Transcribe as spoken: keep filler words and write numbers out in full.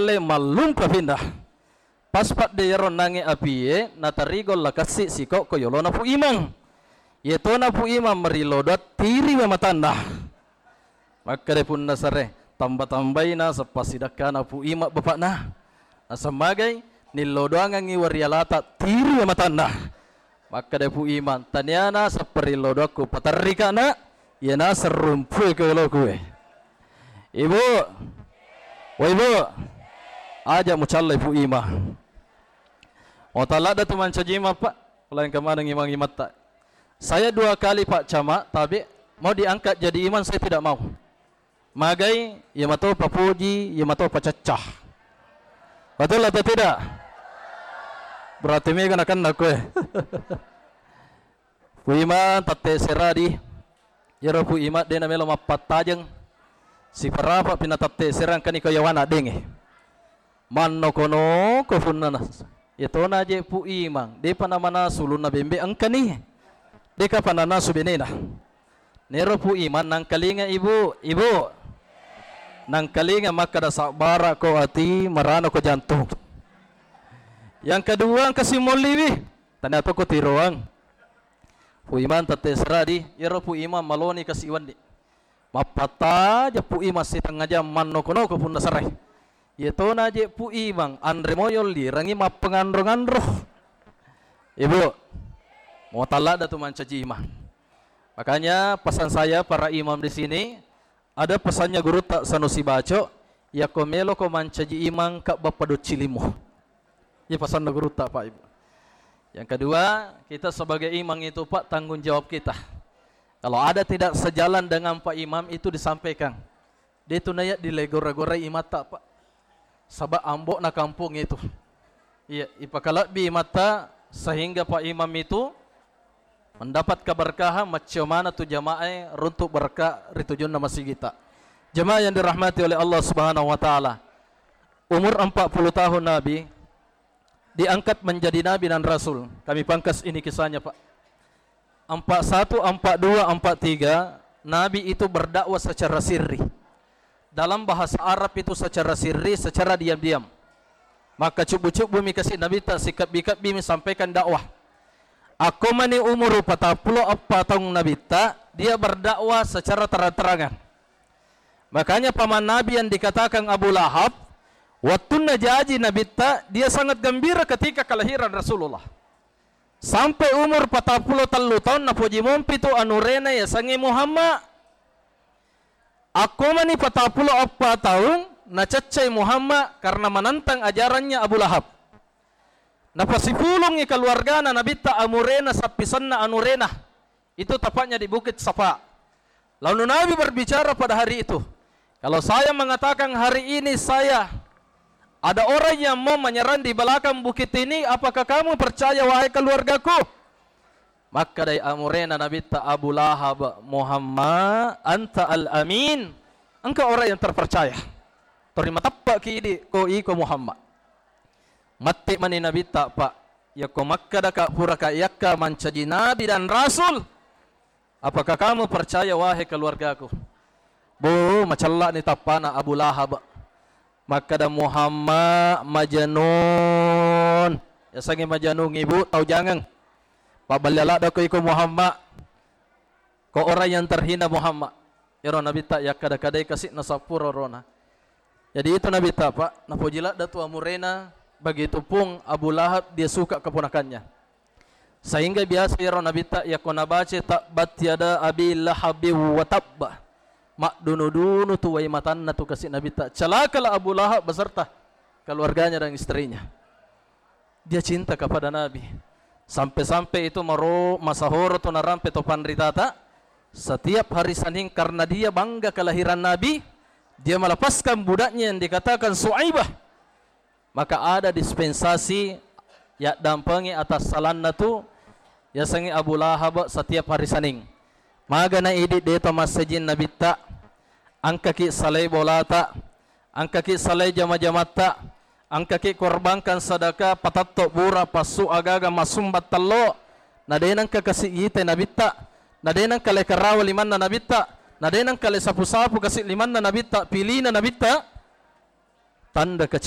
eh, mallumpa pindah. Pas padde iyaro nangnge apie, natarigo lakassi sikokko yolona Pu Imang. Yetona Pu Imang marillodoang tiriwe matanna. Makkeda Punna Sare, tamba-tambai naseng passidakkana Pu Imang bapakna. Naseng magai, nillodoangengngi warialata tiriwe matanna. Makkeda Pu Imang, tania naseng parillodoakku paterrikana, iya naseng rumpue ko yoloku e. Ibu, woi Bu, aja mucallai Pu Imang. Mau taladda tu mancaji imang, Pak. Lain kemaneng imang-imatta. Saya dua kali, Pak Camat, tapi mau diangkat jadi imam saya tidak mau. Magai, iya mato papoji, iya mato pacacca. Betul atau tidak? Berarti mega nakenna koe. Pu Imang tette seradi. Iyaro Pu Imang de namelo mappattajeng. Siparapa pi na tette serang kani ko yawana denge. Mannoko-noko punna nas-, yetona je Pu Imang, depa namanasu ulunna bembe engkani. Dekapa nanasu benena. Nero Pu Imang nangkalinga ibu, ibu. Nangkalinga makkada sabbara ko ati, marano ko jantung. Yang kedua engka simolliwi, tania toko tiroang. Pu Imang tette seradi, iyaro Pu Imang maloni kasi wenni. Mappattaja Pu Imang sitengnga jang mannoko-noko Punna Sare. Yetona je Pu Imang anre moyolli rangi mappenganro-nganro. Ibu, mau taladda tu mancaji imang. Makanya pesan saya para imam di sini, ada pesannya Gurutta Sanusi Baco, yakko meloko mancaji imang ka bappa doccilimu. Iya pesanna Gurutta, Pak, Ibu. Yang kedua, kita sebagai imam itu, Pak, tanggung jawab kita. Kalau ada tidak sejalan dengan Pak Imam itu disampaikan. De tu naya dilegora-gorai imatta, Pak. Saba ambo'na kampung itu. Iya, ipakalebbi imatta sehingga Pak Imam itu mendapat keberkahan, maccio mana tu jamaah runtuk berkah ri tujunna masigita. Jamaah yang dirahmati oleh Allah Subhanahu wa Ta'ala. Umur empat puluh tahun Nabi diangkat menjadi nabi dan rasul. Kami pangkas ini kisahnya, Pak. Empat satu, empat dua, empat tiga, Nabi itu berdakwah secara sirri. Dalam bahasa Arab itu secara sirri, secara diam-diam. Maka cubbu-cubbu mi kasi Nabitta, sikebbi-kebbi mi sampaikan dakwah. Akko mani umur patappulo eppa taung Nabitta, dia berdakwah secara terang-terangan. Makanya paman Nabi yang dikatakan Abu Lahab, wattunna jaji Nabitta, dia sangat gembira ketika kelahiran Rasulullah. Sampai umur patappulo tellu taung napoji mompi tu anurena yasengnge Muhammad. Akko mani patappulo eppa taung naceccai Muhammad karena menentang ajarannya Abu Lahab. Napasipulungngi keluargana Nabitta amurena sappisenna anurena. Itu tepatnya di Bukit Safa. Lalu Nabi berbicara pada hari itu, "Kalau saya mengatakan hari ini saya ada orang yang mau menyerang di belakang bukit ini, apakah kamu percaya, wahai keluargaku?" Makkedai amurena Nabitta Abu Lahab, "Muhammad, anta al-amin. Engkau orang yang terpercaya. Tori mateppe'ki idi ko iko Muhammad." Matti mani Nabitta, Pak, yakko makkedaka puraka yakka mancaji nabi dan rasul, apakah kamu percaya, wahai keluargaku? Bo, macella'ni tappana Abu Lahab. Makkeda Muhammad majanun. Yasengnge majanun, Ibu, tau jangeng. Pabbalia ladda ko iko Muhammad. Ko orang yang terhina Muhammad. Ero Nabitta yakkada-kadai kasi nasappuro rona. Jadi itu Nabitta, Pak, napoji ladda tu amurena, begitu pun Abu Lahab dia suka keponakannya. Sehingga biasa ero Nabitta yakko nabaca tabbat yada abi lahabi wa tabba, maddunu-dunu tu wai matanna tu kasi Nabitta. Celakalah Abu Lahab beserta keluarganya dan istrinya. Dia cinta kepada Nabi. Sampai-sampai itu maro-, masahoro tu narampe to panritata. Setiap hari Senin karena dia bangga kelahiran Nabi, dia melepaskan budaknya yang dikatakan Suaibah. Maka ada dispensasi yaddampengi atas salanna tu yasengnge Abu Lahab setiap hari Senin. Magana idi de to massejing Nabitta, engkaki salai bolata, engkaki salai jama-jamatta, engkaki korbankan sadaka, patatto bura, passu agaga, massumbang tello, na de nengka kasi itai Nabitta, na de nengka le karawa limanna Nabitta, na de nengka le sapu-sapu kasi limanna Nabitta, pilina Nabitta, tanda